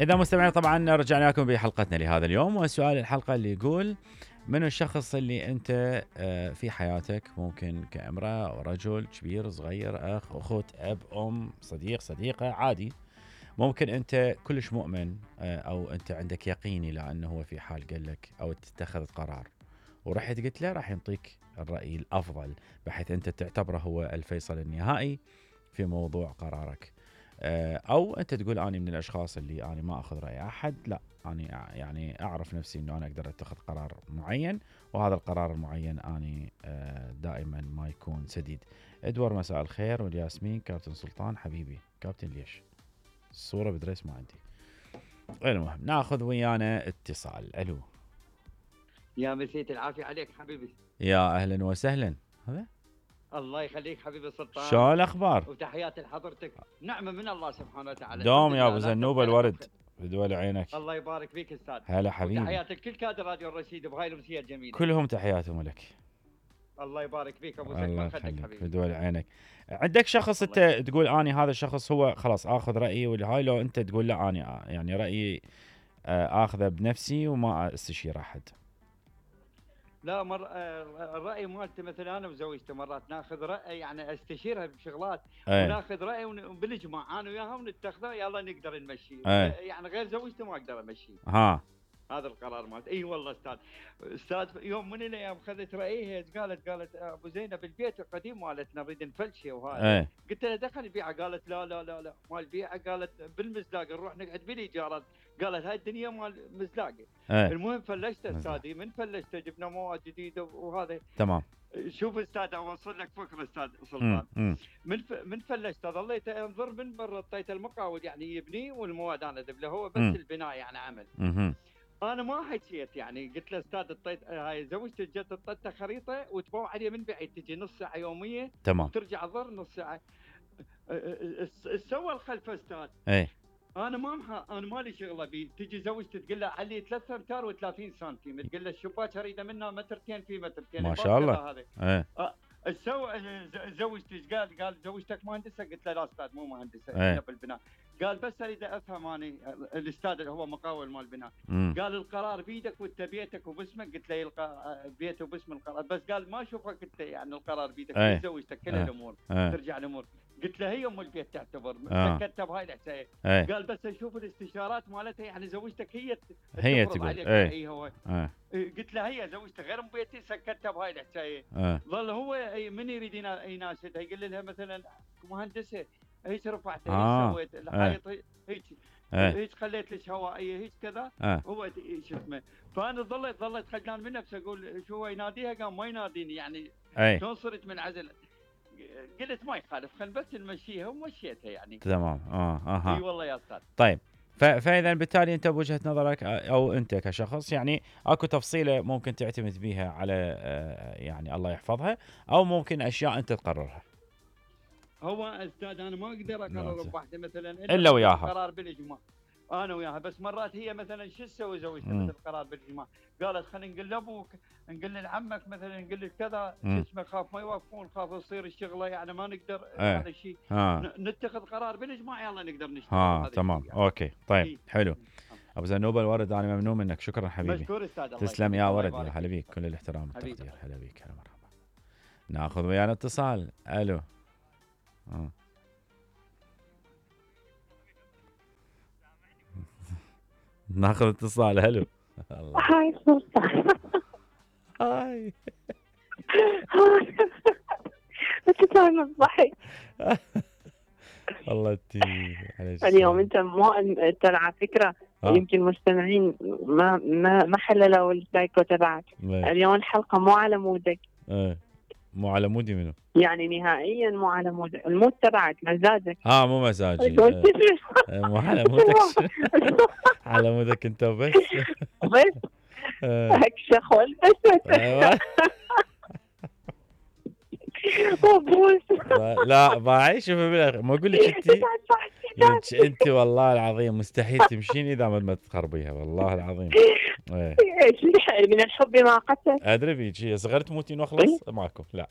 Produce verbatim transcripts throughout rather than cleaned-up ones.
إذا مستمعين طبعا رجعنا لكم بحلقتنا لهذا اليوم، وسؤال الحلقة اللي يقول: من الشخص اللي أنت في حياتك، ممكن كامرأة أو رجل، كبير صغير، أخ أخت، أب أم، صديق صديقة، عادي، ممكن أنت كلش مؤمن أو أنت عندك يقيني لأنه هو في حال قال لك أو اتخذت قرار ورحت قلت له، راح ينطيك الرأي الأفضل بحيث أنت تعتبره هو الفيصل النهائي في موضوع قرارك. أو أنت تقول أنا من الأشخاص اللي أنا ما أخذ رأي أحد، لا أنا يعني أعرف نفسي أنه أنا أقدر أتخذ قرار معين، وهذا القرار المعين أنا دائما ما يكون سديد. إدوار مساء الخير والياسمين. كابتن سلطان حبيبي. كابتن ليش الصورة بدريس ما عندي؟ المهم ناخذ ويانا اتصال. ألو. يا مسيت العافية عليك حبيبي. يا أهلا وسهلا. هذا الله يخليك حبيبي سلطان. شو الأخبار؟ وتحياتي لحضرتك. نعمة من الله سبحانه وتعالى. دوم يا أبو زنوب الورد بدول عينك. الله يبارك فيك أستاذ. هلا حبيبي. وتحياتي لكل كادر راديو الرشيد بهاي الأمسية الجميلة. كلهم تحياتهم لك. الله يبارك فيك أبو زنوب. الله يخليك بدول عينك. عندك شخص أنت تقول أني هذا الشخص هو خلاص آخذ رأيي والهاي، لو أنت تقول لا أني يعني رأيي آخذه بنفسي وما استشير أحد؟ لا مر الرأي مالتي مثلا أنا وزوجتي مرات ناخذ رأي، يعني استشيرها بشغلات أيه. وناخذ رأي وبنجمع أنا وياها ونتخذه، يلا نقدر نمشي أيه. يعني غير زوجتي ما أقدر أمشي. ها هذا القرار مالتي. اي والله استاذ استاذ يوم من الايام اخذت رايها، قالت قالت ابو زينب البيت القديم مالتنا نريد نفلشه وهذا ايه. قلت لها دخل البيعه، قالت لا لا لا لا مال البيعه، قالت بالمزلاق نروح نقعد بالايجارات، قالت هاي الدنيا مال مزلاقه ايه. المهم فلشته استاذي، من فلشته جبنا مواد جديده وهذا تمام. شوف استاذ اوصل لك فكره استاذ سلطان. م- م. من ف... من فلشته ظليت انظر من برا، اعطيته المقاول يعني يبني والمواد انا ذب له، هو بس م. البناء يعني عمل. م- انا ما حكيت يعني، قلت له استاذ اعطيت هاي زوجتي جت اعطيتها خريطه وتبوع عليه من بعيد، تجي نص ساعه يوميه تمام، وترجع ظر نص ساعه. سوى الخلف استاذ اي. انا ما مح... انا مالي شغله بي، تجي زوجتي تقول له علي ثلاثة امتار وثلاثين سنتيم، تقول له الشباك اريده منه مترتين في مترتين ما شاء الله. ايه سوى زوجتي قال قال زوجتك مهندسه؟ قلت له لا استاذ مو مهندسه ايه. بالبناء. قال بس اريد افهم اني الاستاذ اللي هو مقاول مال البناء، قال القرار بيدك وانت بيتك وباسمك، قلت له يلقى بيته وباسم القرار، بس قال ما اشوفك انت يعني القرار بيدك ايه. زوجتك كل ايه. الامور ايه. ترجع الامور. قلت له هي ام البيت تعتبر اه. سكتها بهاي الحكايه ايه. قال بس اشوف الاستشارات مالتها، يعني زوجتك هي هي تقول ايه. ايه هو ايه. قلت له هي زوجتك غير ام بيتي، سكتها بهاي الحكايه ايه. ظل هو من يريد يناشدها، يقول لها مثلا مهندسه هيك رفعتها آه. هيك سويت الحائط هيك آه. هيك خليت لك هوائيه هيك كذا آه. هو شو اسمه. فانا ظليت ظليت خجلان من نفسي، اقول شو هو يناديها، قام ما يناديني يعني شلون صرت منعزل. قلت ما يخالف خل بس نمشيها ومشيتها يعني تمام. اه اها اي والله يا استاذ. طيب فاذا بالتالي انت بوجهه نظرك او انت كشخص يعني اكو تفصيله ممكن تعتمد بيها على يعني الله يحفظها، او ممكن اشياء انت تقررها. هو استاذ انا ما اقدر اقرر بوحده مثلا الا, إلا وياها قرار بالاجماع انا وياها، بس مرات هي مثلا شو تسوي زوجتها مثل قرار بالاجماع، قالت خلينا نقول لابوك نقول لعمك مثلا نقول لك كذا شو اسمه، خاف ما يوافقون، خاف تصير الشغله يعني ما نقدر اه. هذا الشيء نتخذ قرار بالاجماع يلا نقدر نشتغل. اه تمام يعني. اوكي طيب إيه. حلو. ابو زنوب الورد انا ممنون منك، شكرا حبيبي. مشكور استاذ. تسلم يا ورد، يا هلا بيك، كل الاحترام والتقدير. هلا بيك هلا مرحبا. ناخذ ويانا اتصال. الو. اه ناخذ اتصال. هلو. هاي سلطان. هاي انت دائما تضحك. والله انت اليوم انت مو ترى على فكره آه. يمكن المستمعين ما ما ما حللوا السايكو تبعك اليوم، الحلقه مو على مودك. ايه مو على مودي منو؟ يعني نهائيا مو على مودك، المود تبعك مزاجك. اه مو مزاجي. اه. مو على مودك. على مودك انت بس. بس هيك شخول بس. ايوه. لا باعي شوفي بالاخر ما اقول لك انت انت والله العظيم مستحيل تمشين اذا ما تخربيها والله العظيم. ايه من الحب ما قتل. ادري بيك صغرت تموتين واخلص ماكو لا.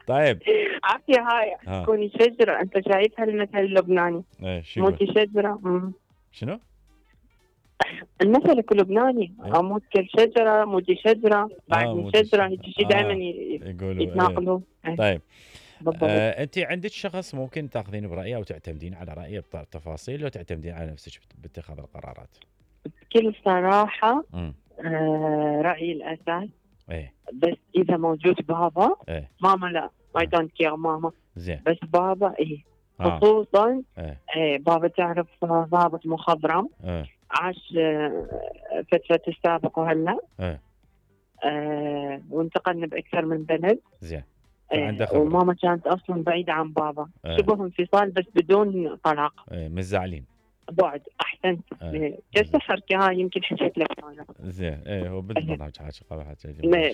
طيب عافيه هاي تكوني شجره، انت شايفها المثل اللبناني؟ ايه شو موتي شجره. مم. شنو؟ المثل اللبناني إيه؟ اموت كالشجره، موتي شجره، بعدني آه شجره، هيك شيء آه دائما يقولوا يتناقلوا. إيه. طيب آه انت عندك شخص ممكن تاخذين برايه او تعتمدين على رايه بتفاصيل، لو تعتمدين على نفسك باتخاذ القرارات؟ بكل صراحه امم آه رايي الاساس. ايه بس اذا موجود بابا ايه ماما لا اي دونت كير ماما. زين. بس بابا ايه آه. خصوصا ايه. ايه بابا تعرف ضابط مخضرم. ايه. عاش فترة السابق وهلا. ايه. آه وانتقلنا باكثر من بلد. زين. آه وماما كانت اصلا بعيدة عن بابا. ايه. شبه انفصال بس بدون طلاق. ايه مش زعلين. بعد احسنت. ايه. جلسة حركة هاي يمكن حكيت لك انا. زين. ايه هو بالبرنامج حاجة قبل حاجة.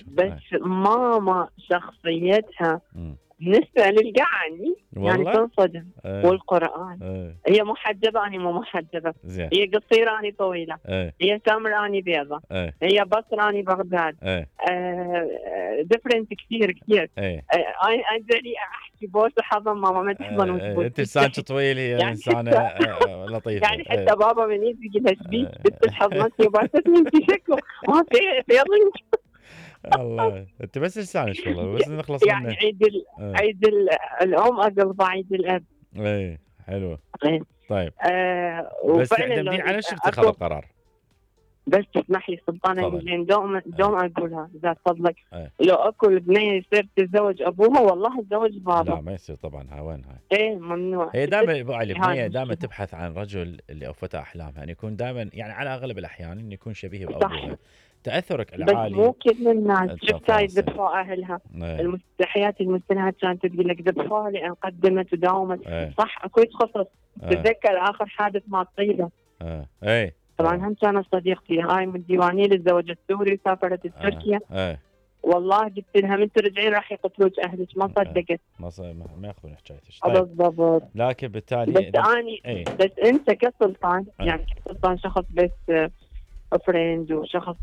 بس ايه. ماما شخصيتها م. بالنسبة للقعني يعني تنصدم. ايه. والقرآن ايه. هي محجبة أنا مو محجبة. زين. هي قصيرة أنا طويلة. ايه. هي سمراء أنا بيضة. ايه. هي بصرة أنا بغداد. ايه. ديفرنت كثير كثير. ايه. أنا أجري أحكي بوس حضن ماما ما تحضن وتبوس. أنت إنسانك طويل، هي يعني إنسانة لطيفة. يعني حتى ايه. بابا من يجي لها شبيك بنت حضنتني وباستني أنت شكله ما في فيضنك. الله انت بس لسانك والله بس نخلص يعني منه. عيد ال... اه. عيد ال... الام اقلب عيد الاب. ايه حلو. ايه. طيب آه بس تعتمدين على نفسك تتخذ القرار. بس تسمح لي سلطان زين دوم دوم اقولها اذا فضلك. ايه. لو اكو البنيه يصير تتزوج ابوها والله اتزوج بابا. لا ما يصير طبعا. ها وين هاي؟ ايه ممنوع. هي دائما البنيه دائما تبحث عن رجل اللي اوفتها احلامها، ان يكون دائما يعني على اغلب الاحيان انه يكون شبيه بابوها. تاثرك العالي بس مو كل الناس شفت هاي ذبحوا اهلها. ايه. المستحيات المستنات كانت تقول لك ذبحوها لان قدمت وداومت. ايه. صح اكو يتخصص. ايه. تتذكر اخر حادث مع الطيبه. ايه. ايه. طبعا هم كانت صديقتي هاي من الديوانيه الزوج السوري وسافرت تركيا. ايه. والله قلت لها من ترجعين راح يقتلوك اهلك ما صدقت. ما ما ياخذون حكايتك. طيب. بالضبط. لكن بالتالي بس اني ايه. بس انت كسلطان ايه. يعني كسلطان شخص بس فريند وشخص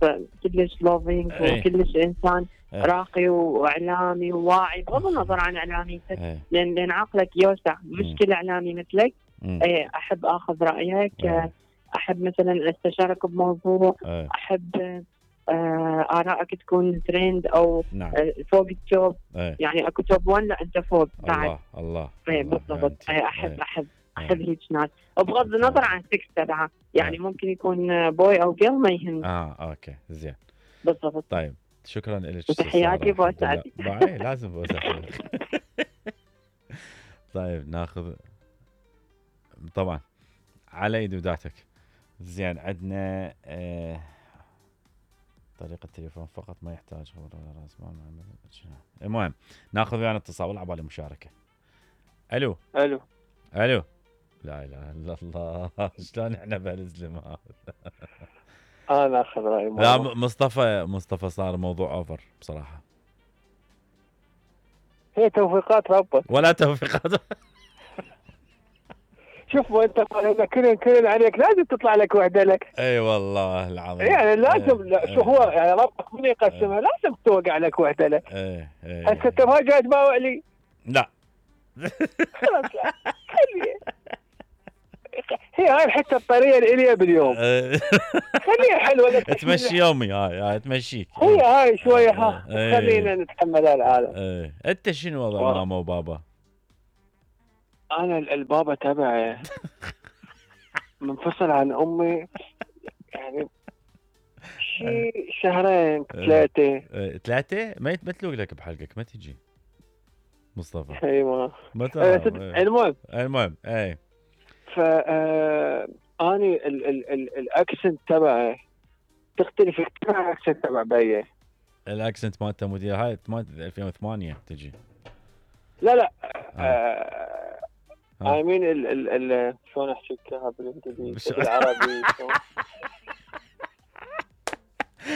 كلش لوفينج ايه. وكلش انسان ايه. راقي واعلامي وواعي بغض النظر عن اعلاميتك. ايه. لان لان عقلك يوسع مش كل اعلامي مثلك. ايه. احب اخذ رايك. ايه. احب مثلا استشارك بموضوع. ايه. احب آه آرائك تكون ترند أو نعم. آه فوق التوب. ايه. يعني أكو توب ون لا أنت فوق بعد. الله الله. ايه بالضبط. ايه أحب ايه. أحب أحب هيك ناس وبغض النظر عن سكس تبعها يعني ايه. ممكن يكون بوي أو جيل ما يهم. اه اوكي زين بالضبط. طيب شكرا لك. تحياتي بوسعتي. باي لازم بوسعتي. طيب ناخذ طبعا على يد وداتك. زين عندنا آه طريقة التليفون فقط ما يحتاج خبر ولا راس مال. المهم ناخذ ويانا اتصال على بالي مشاركة. الو الو الو. لا اله الا الله شلون احنا بهالزلم هذا. انا اخذ رايي. لا مصطفى مصطفى صار موضوع اوفر بصراحة. هي توفيقات ربك ولا توفيقات. شوف انت كل كل عليك لازم تطلع لك وحده لك. اي والله العظيم. يعني لازم لا شو هو يعني ربك من يقسمها لازم توقع لك وحده لك. ايه ايه. هسه انت ما جاي تباوع لي. لا خلاص خليه. هي هاي الحته الطريه الاليه باليوم. خليها حلوه تمشي يومي هاي هاي تمشيك. هي هاي شويه ها خلينا نتحمل العالم. ايه. انت شنو وضع ماما وبابا؟ انا البابا تبعي منفصل عن امي يعني شيء شهرين ثلاثه. ثلاثه ما يتمثلوك لك بحلقك ما تجي مصطفى. اي ما ما المهم المهم اي ف اني ال ال ال الاكسنت تبعي تختلف كثير عن الاكسنت تبع بيه. الاكسنت مالته مدير هاي مالت ألفين وثمانية تجي. لا لا اي مين ال ال ال شلون احكي لك بالانجليزي بالعربي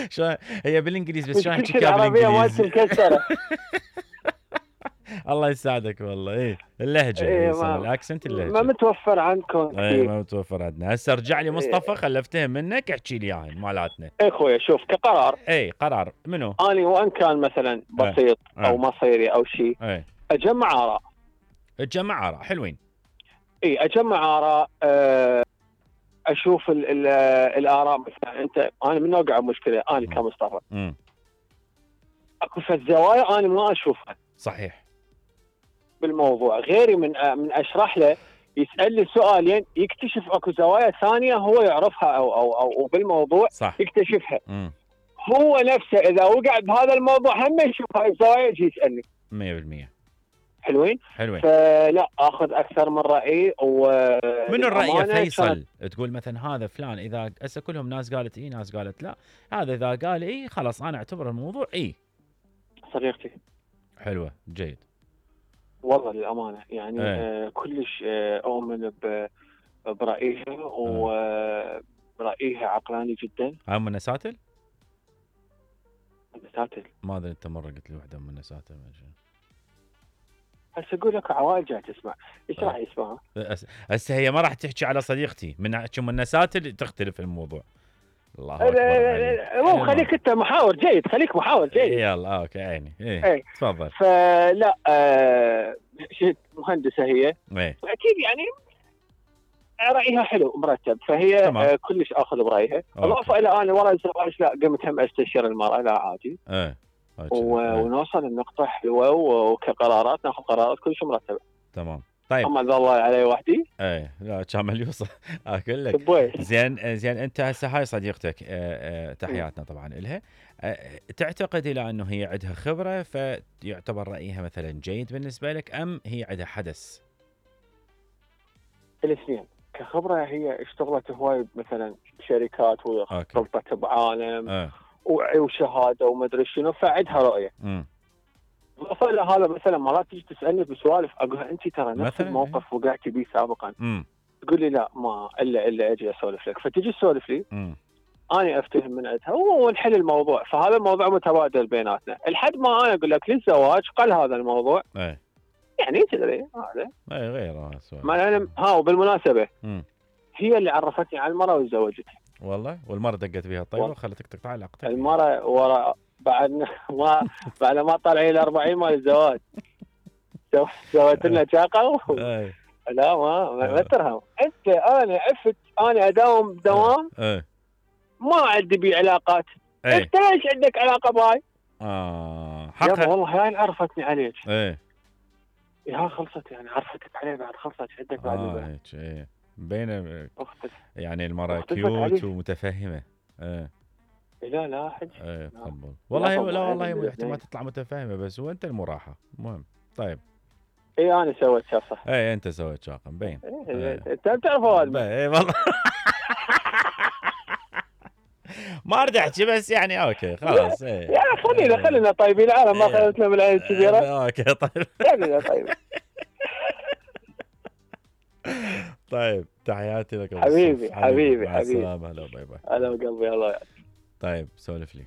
شلون هي بالانجليزي بس شلون احكي لك بالانجليزي مكسره. الله يساعدك والله. ايه اللهجه إيه الاكسنت اللهجه ما متوفر عندكم. ايه ما متوفر عندنا. هسه ارجع لي مصطفى إيه. خلفتها منك احكي لي اياها مالاتنا. اي خويا شوف كقرار اي قرار منو اني وان كان مثلا بسيط ايه. او مصيري او شيء ايه. اجمع اراء. تجمع اراء حلوين. اي اجمع اراء، أه اشوف ال ال الاراء. مثلا انت، انا من اوقع مشكله انا كمصطفى، امم اكو في الزوايا انا ما اشوفها صحيح بالموضوع، غيري من من اشرح له يسالني سؤالين يكتشف اكو زوايا ثانيه هو يعرفها او او او بالموضوع صح. يكتشفها. مم. هو نفسه اذا وقع بهذا الموضوع هم يشوف هاي الزوايا يجي يسالني. مية بالمية حلوين حلوين. فلا اخذ اكثر من راي. و من الراي يا فيصل تقول مثلا هذا فلان، اذا هسه كلهم ناس قالت اي ناس قالت لا، هذا اذا قال اي خلاص انا اعتبر الموضوع اي. صديقتي حلوه جيد والله للامانه يعني ايه. آه كلش آه اؤمن برايها ورايها عقلاني جدا. هاي من نساتل؟ نساتل ما ادري انت مره قلت لي وحده من نساتل. هسه اقول لك عوائل جاي تسمع ايش راح يسمعها؟ هسه هي ما راح تحكي على صديقتي من من النساتل تختلف الموضوع. الله اكبر. مو خليك انت محاور جيد، خليك محاور جيد. يلا اوكي عيني. ايه, ايه. تفضل. فلا آه شيء مهندسه هي. ايه. اكيد يعني رايها حلو مرتب، فهي آه كلش اخذ برايها. اضافه الى انا ورا الزواج لا قمت هم استشير المراه لا عادي. ايه. ونوصل النقطه حلوه وكقرارات ناخذ قرارات كلش مرتبه. تمام. طيب اما الله علي وحدي. ايه لا كامل يوصل. اقول لك زين زين انت هسه هاي صديقتك اه اه تحياتنا طبعا لها. اه تعتقد الى انه هي عندها خبره فيعتبر رايها مثلا جيد بالنسبه لك، ام هي عندها حدث؟ الاثنين. كخبره هي اشتغلت هواي مثلا بشركات وطبت بعالم اه. وشهاده وما ادري شنو، فعندها رؤيه. امم اضافه الى هذا مثلا مرات تيجي تسالني بسوالف اقول لها انت ترى نفس الموقف وقعتي به سابقا. امم تقول لي لا ما الا الا اجي اسولف لك، فتجي تسولف لي. امم انا افتهم من عندها ونحل الموضوع، فهذا الموضوع متبادل بيناتنا لحد ما انا اقول لك للزواج قل هذا الموضوع. ايه يعني تدري هذا اي غير سؤال. ما انا ها وبالمناسبه مم. هي اللي عرفتني على المراه وتزوجتني والله. والمرة دقت بيها الطيبه وخلتك تقطع علاقتك. المرة ورا بعد ما بعد ما طلعي ال أربعين مال الزواج سويت لنا شاقه. لا ما ما ترهم انت. انا عفت انا اداوم دوام ايه. ما عندي بي علاقات. ايه. انت ليش عندك علاقه باي؟ اه حقا والله هاي عرفتني عليك. ايه يا خلصت يعني عرفتك عليه بعد خلصت عندك بعد اه هيك ايه بين يعني المرأة كيوت ومتفهمة. ايه لا لا حج ايه تفضل. والله لا والله احتمال تطلع متفاهمة بس وانت المراحة المهم. طيب اي انا سويت شاقة. ايه انت سويت شاقة مبين. انت ايه. بتعرف هذا ايه والله. ما اريد احكي بس يعني اوكي خلاص. ايه يا خلينا خلينا طيبين العالم ما خلتنا من العين الكبيرة. اوكي طيب خلينا طيب. طيب تحياتي لك حبيبي حبيبي مع حبيبي. السلامة. هلا باي باي. هلا بقلبي الله. طيب سولف لي.